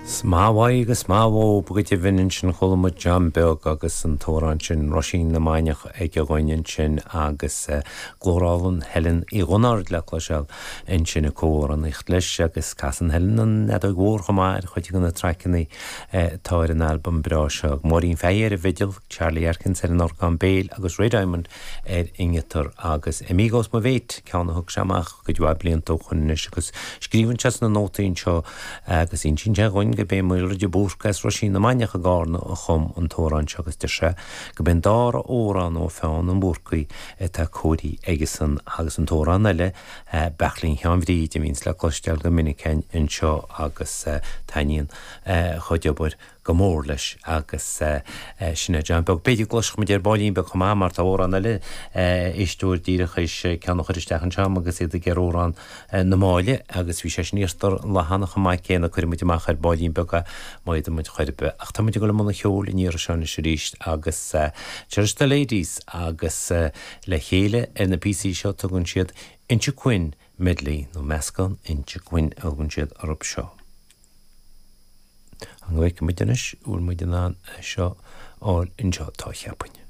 'S maith uaidh agus maith uathub go deimhin ansin chuala muid John Beag agus an t-amhrán sin Roisín na Mainiach aige dhúinn ansin agus glór álainn Helen Uí Dhionáird le cloiseáil ansin ag comhamhránaíocht leis agus casann Helen an fheadóig mhór chomh maith ar chuid de na traiceanna atá ar an albam breá seo. Máirín Fahey ar an bhfidil, Charlie Atkins ar an orgán béil agus Ray Diamond ar an ngiotár agus Amigos Mo Mhéit, ceann a thug sé amach cuid mhaith blianta ó shoin anois agus scríobhann sé sna nótaí anseo agus insíonn sé dhúinn gurb é Maolra de Búrca as Roisín na Mainiach i gCarna a chum an t-amhrán seo agus deir sé gurb é an dara amhrán ó pheann an Bhúrcaigh atá cóirithe aigesan agus an t-amhrán eile Beairtlín Sheáin Bhríd a bhíonns le cloisteáil go minic againn anseo agus taitníonn a chuid obair go mór leis agus sin é John Beag. B'fhéidir go gcloisfidh muid ar baillín beag chomh maith mar tá amhrán eile éisteoir díreach théis ceann a chur isteach anseo agam agus iad ag iarraidh amhrán na Máille agus bhí sé sin iarrta an lá cheana chomh maith céanna. Cuirfidh muid amach ar baillín beag é má fhéadann muid chor ar bith. Ach tá muid ag dul i mbun an cheoil an iarraidh seo anois arís agus Cherish the Ladies agus le chéile ar na píosaí seo tugann siad Inchiquin Medley nó meascán Inchiquin a thugann siad orthu seo. An bhfeicfidh muid anois an bhfuil muid in ann é seo a fháil anseo? Tá, cheapfainn.